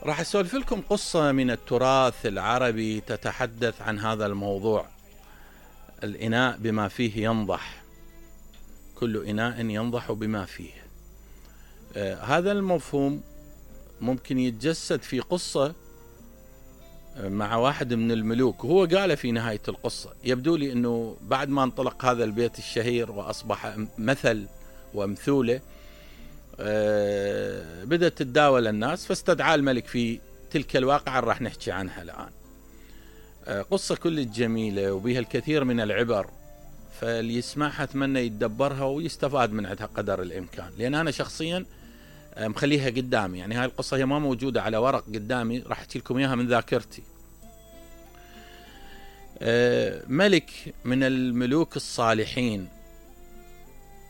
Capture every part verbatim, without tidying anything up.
راح أسولف لكم قصة من التراث العربي تتحدث عن هذا الموضوع. الإناء بما فيه ينضح، كل إناء ينضح بما فيه. آه هذا المفهوم ممكن يتجسد في قصة مع واحد من الملوك، وهو قال في نهاية القصة. يبدو لي أنه بعد ما انطلق هذا البيت الشهير وأصبح مثل ومثولة، أه بدأت تتداول الناس، فاستدعى الملك في تلك الواقعة راح نحكي عنها الآن. أه قصة كل جميلة وبها الكثير من العبر، فاللي يسمعها أتمنى يتدبرها ويستفاد من عندها قدر الإمكان، لأن أنا شخصيا مخليها قدامي. يعني هاي القصة هي ما موجودة على ورق قدامي، راح أحكي لكم إياها من ذاكرتي. أه ملك من الملوك الصالحين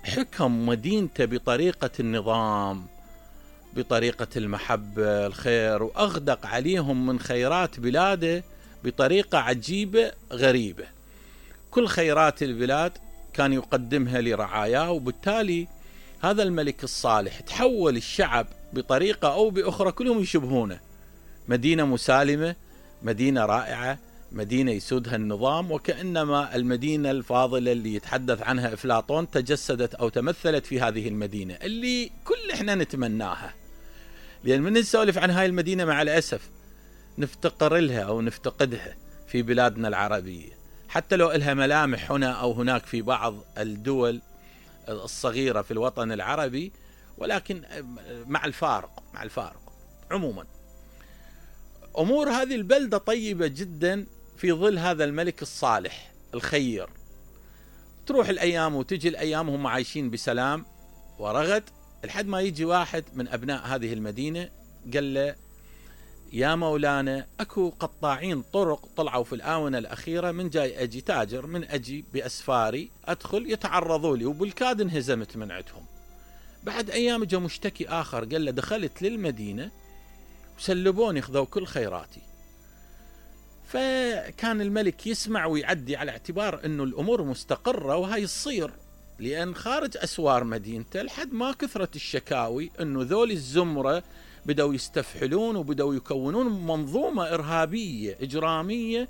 حكم مدينته بطريقة النظام، بطريقة المحبة الخير، وأغدق عليهم من خيرات بلاده بطريقة عجيبة غريبة. كل خيرات البلاد كان يقدمها لرعاياه، وبالتالي هذا الملك الصالح تحول الشعب بطريقة أو بأخرى كلهم يشبهونه. مدينة مسالمة، مدينة رائعة، مدينة يسودها النظام، وكأنما المدينة الفاضلة اللي يتحدث عنها أفلاطون تجسدت أو تمثلت في هذه المدينة اللي كل إحنا نتمناها. لأن من نسولف عن هاي المدينة مع الأسف نفتقر لها أو نفتقدها في بلادنا العربية، حتى لو إلها ملامح هنا أو هناك في بعض الدول الصغيرة في الوطن العربي، ولكن مع الفارق مع الفارق عموما أمور هذه البلدة طيبة جدا في ظل هذا الملك الصالح الخير. تروح الأيام وتجي الأيام وهم عايشين بسلام ورغد، لحد ما يجي واحد من أبناء هذه المدينة قال له: يا مولانا، أكو قطاعين طرق طلعوا في الآونة الأخيرة، من جاي أجي تاجر من أجي بأسفاري أدخل يتعرضوا لي، وبالكاد انهزمت من عندهم. بعد أيام جاء مشتكي آخر قال له: دخلت للمدينة وسلبوني، خذوا كل خيراتي. فكان الملك يسمع ويعدي على اعتبار أنه الأمور مستقرة وهي الصير، لأن خارج أسوار مدينته لحد ما كثرت الشكاوي أنه ذول الزمرة بدأوا يستفحلون وبدأوا يكونون منظومة إرهابية إجرامية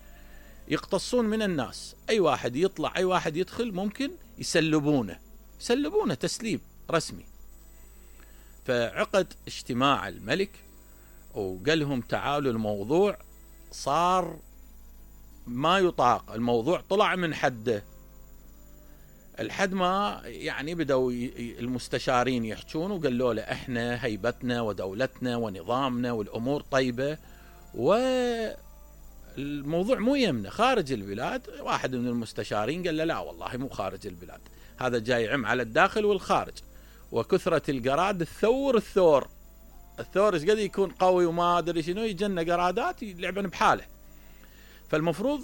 يقتصون من الناس. أي واحد يطلع، أي واحد يدخل ممكن يسلبونه يسلبونه تسليب رسمي. فعقد اجتماع الملك وقال لهم: تعالوا، الموضوع صار ما يطاق، الموضوع طلع من حده. الحد ما يعني بدأوا المستشارين يحجون وقالوا له: احنا هيبتنا ودولتنا ونظامنا والأمور طيبة، والموضوع مو يمنا خارج البلاد. واحد من المستشارين قال له: لا والله مو خارج البلاد، هذا جاي عم على الداخل والخارج، وكثرة القراد الثور الثور الثور ايش قد يكون قوي وما ادري شنو، يجنا قرادات يلعبن بحاله. فالمفروض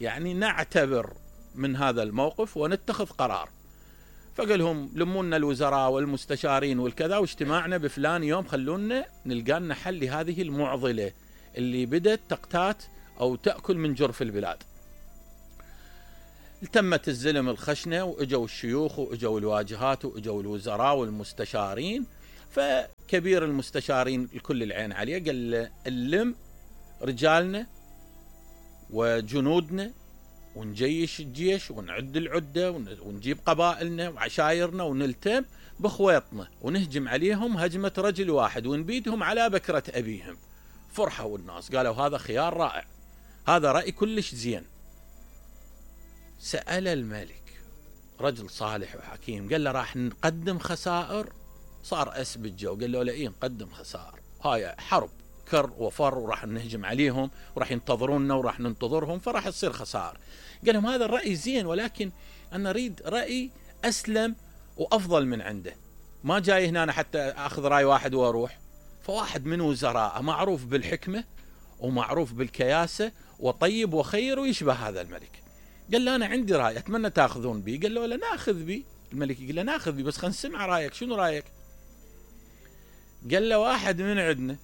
يعني نعتبر من هذا الموقف ونتخذ قرار. فقال لهم: لمونا الوزراء والمستشارين والكذا، واجتماعنا بفلان يوم، خلونا نلقى لنا حل لهذه المعضلة اللي بدت تقتات أو تأكل من جرف البلاد. تمت الزلم الخشنة، وإجوا الشيوخ وإجوا الواجهات وإجوا الوزراء والمستشارين. فكبير المستشارين الكل العين عليه قال له: اللم رجالنا وجنودنا ونجيش الجيش ونعد العدة ونجيب قبائلنا وعشايرنا ونلتم بخويطنا ونهجم عليهم هجمة رجل واحد ونبيدهم على بكرة أبيهم. فرحوا الناس، قالوا: هذا خيار رائع، هذا رأي كلش زين. سأل الملك رجل صالح وحكيم، قال له: راح نقدم خسائر؟ صار أس بالجو، قال له: لا، إيه نقدم خسائر، هاي حرب كر وفر وراح نهجم عليهم وراح ينتظروننا وراح ننتظرهم، فراح تصير خسائر. قال لهم: هذا الرأي زين، ولكن أنا أريد رأي أسلم وأفضل من عنده، ما جاي هنا حتى أخذ رأي واحد وأروح. فواحد من وزراء معروف بالحكمة ومعروف بالكياسة وطيب وخير ويشبه هذا الملك، قال له: أنا عندي رأي أتمنى تأخذون بي. قال له: لا، نأخذ بي. الملك قال له: نأخذ بي، بس خلنا نسمع رأيك، شنو رأيك؟ قال له: واحد من عندنا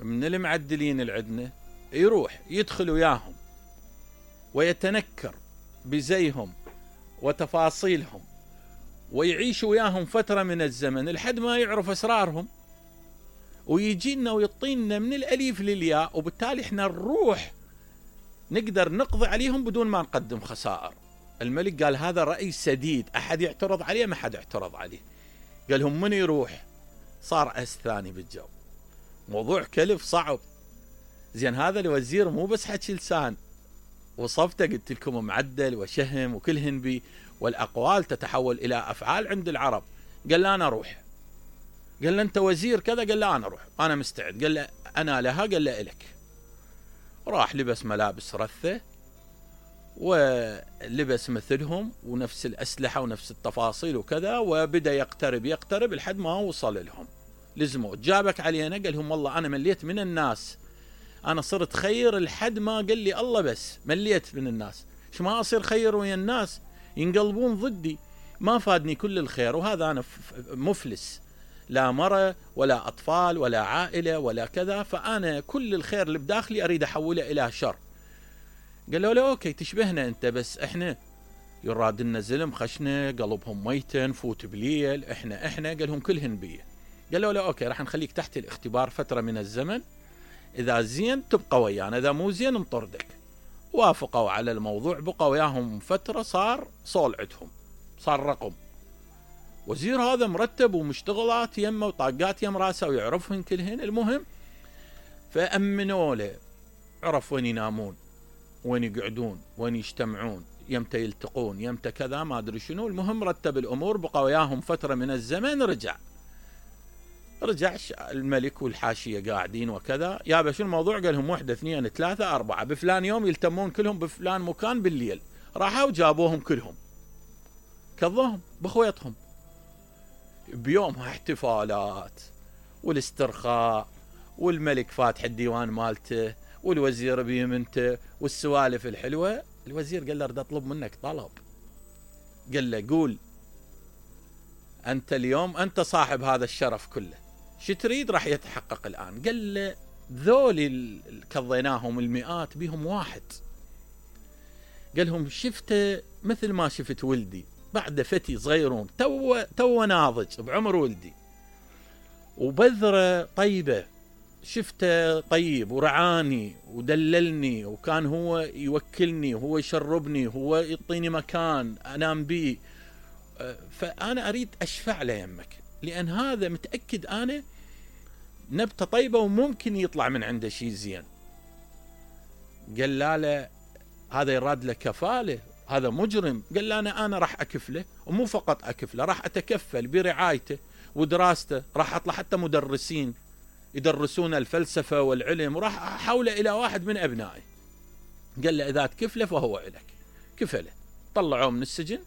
من المعدلين العدنا يروح يدخل وياهم ويتنكر بزيهم وتفاصيلهم ويعيش وياهم فترة من الزمن لحد ما يعرف أسرارهم، ويجينا ويعطينا من الأليف للياء، وبالتالي احنا نروح نقدر نقضي عليهم بدون ما نقدم خسائر. الملك قال هذا رأي سديد، أحد يعترض عليه؟ ما حد اعترض عليه. قال لهم من يروح؟ صار أس ثاني بالجو. موضوع كلف صعب. زين هذا الوزير مو بس حكي لسان، وصفته قلت لكم معدل وشهم وكلهن بي، والأقوال تتحول إلى أفعال عند العرب. قال له أنا أروح. قال له أنت وزير كذا؟ قال له أنا أروح، أنا مستعد. قال له أنا لها؟ قال له إلك. راح لبس ملابس رثة ولبس مثلهم ونفس الأسلحة ونفس التفاصيل وكذا، وبدأ يقترب يقترب لحد ما وصل لهم. لزموا جابك علينا؟ قال لهم والله أنا مليت من الناس، أنا صرت خير لحد ما قال لي الله، بس مليت من الناس. إيش ما أصير خير ويا الناس ينقلبون ضدي، ما فادني كل الخير، وهذا أنا مفلس، لا مرة ولا أطفال ولا عائلة ولا كذا، فأنا كل الخير اللي بداخلي أريد أحوله إلى شر. قال له لا أوكي تشبهنا أنت، بس إحنا يراد لنا زلم خشنا قلبهم ميتا نفوت بليل، إحنا إحنا قال لهم كلهن بيه. قال له لا أوكي راح نخليك تحت الاختبار فترة من الزمن، إذا زين تبقى ويانا، إذا مو زين نطردك. وافقوا على الموضوع، بقى وياهم فترة، صار صول عندهم، صار رقم. وزير هذا مرتب ومشتغلات يمه وطاقات يم راسه ويعرفهن كلهن. المهم فأمنوا له، عرف وين ينامون، وين يقعدون، وين يجتمعون، يمتى يلتقون، يمتى كذا ما أدري شنو. المهم رتب الأمور، بقى وياهم فترة من الزمن. رجع رجع الملك والحاشية قاعدين وكذا. يابا شو الموضوع؟ قال لهم واحدة اثنين ثلاثة أربعة بفلان يوم يلتمون كلهم بفلان مكان بالليل. راحوا وجابوهم كلهم، كظهم بخويتهم. بيومها احتفالات والاسترخاء، والملك فاتح الديوان مالته، والوزير بيمنته، والسوالف الحلوة. الوزير قال له اريد اطلب منك طلب. قال له قول. انت اليوم انت صاحب هذا الشرف كله، شو تريد؟ راح يتحقق الان. قال له ذول اللي كضيناهم المئات بيهم واحد. قال لهم شفته مثل ما شفت ولدي، بعد فتي صغيرون تو تو ناضج بعمر ولدي، وبذرة طيبة، شفته طيب ورعاني ودللني، وكان هو يوكلني وهو يشربني وهو يعطيني مكان انام بيه. فانا اريد اشفع له يمك، لان هذا متاكد انا نبته طيبه وممكن يطلع من عنده شيء زين. قال لا لا هذا يراد له كفاله، هذا مجرم. قال له انا انا راح اكفله، ومو فقط اكفله، راح اتكفل برعايته ودراسته، راح اطلع حتى مدرسين يدرسون الفلسفه والعلم، وراح احوله الى واحد من ابنائي. قال له اذا تكفله فهو الك. كفله، طلعوه من السجن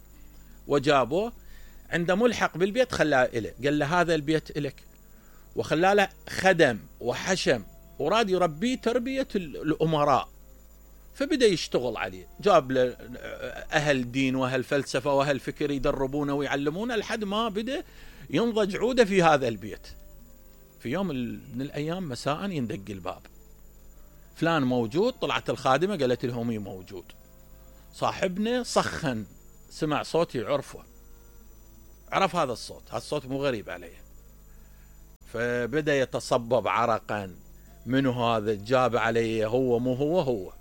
وجابوه عنده ملحق بالبيت، خلاه إله. قال له هذا البيت إلك، وخلاه له خدم وحشم، وراد يربيه تربية الأمراء. فبدأ يشتغل عليه، جاب له أهل دين وأهل فلسفة وأهل فكر يدربونه ويعلمونه، لحد ما بدأ ينضج عوده في هذا البيت. في يوم من الأيام مساء يندق الباب، فلان موجود؟ طلعت الخادمة قالت لهم مي موجود. صاحبنا سخن، سمع صوتي عرفه، عرف هذا الصوت، هذا الصوت مو غريب عليه. فبدأ يتصبب عرقا، منو هذا؟ جاب عليه هو مو هو هو.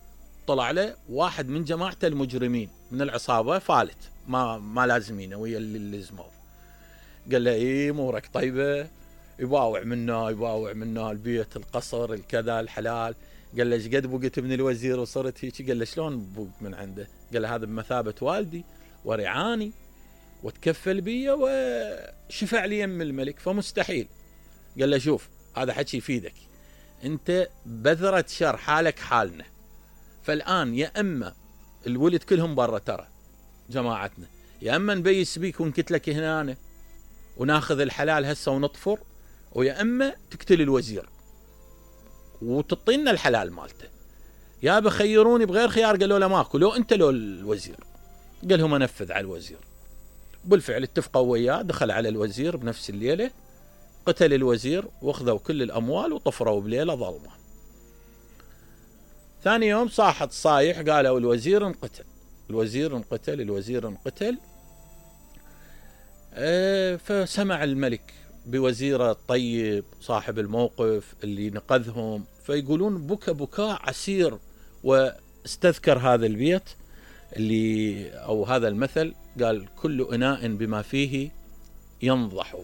طلع له واحد من جماعته المجرمين من العصابة، فالت ما ما لازمينه ويا اللي لزموه. قال له ايه امورك طيبة؟ يباوع منا يباوع منا البيت القصر الكذا الحلال. قال له ايش قد بقيت من الوزير وصرت هيك؟ قال له شلون بقيت من عنده؟ قال له هذا بمثابة والدي ورعاني وتكفل بي وشفع لي يم الملك، فمستحيل. قال له شوف هذا حكي يفيدك، انت بذرة شر حالك حالنا، فالآن يا اما الولد كلهم برا ترى جماعتنا، يا اما نبيس بيك ونكتلك هنا وناخذ الحلال هسه ونطفر، ويا اما تقتل الوزير وتعطينا الحلال مالته. يا بخيروني بغير خيار. قالوا له ماكو، لو انت لو الوزير. قال لهم انفذ على الوزير. بالفعل اتفقوا وياه، دخل على الوزير بنفس الليلة، قتل الوزير واخذوا كل الأموال وطفروا بليلة ظلمة. ثاني يوم صاحت صايح، قالوا الوزير انقتل، الوزير انقتل، الوزير انقتل. اه فسمع الملك بوزيره الطيب صاحب الموقف اللي نقذهم، فيقولون بكى بكاء عسير. واستذكر هذا البيت اللي أو هذا المثل، قال كل إناء بما فيه ينضح.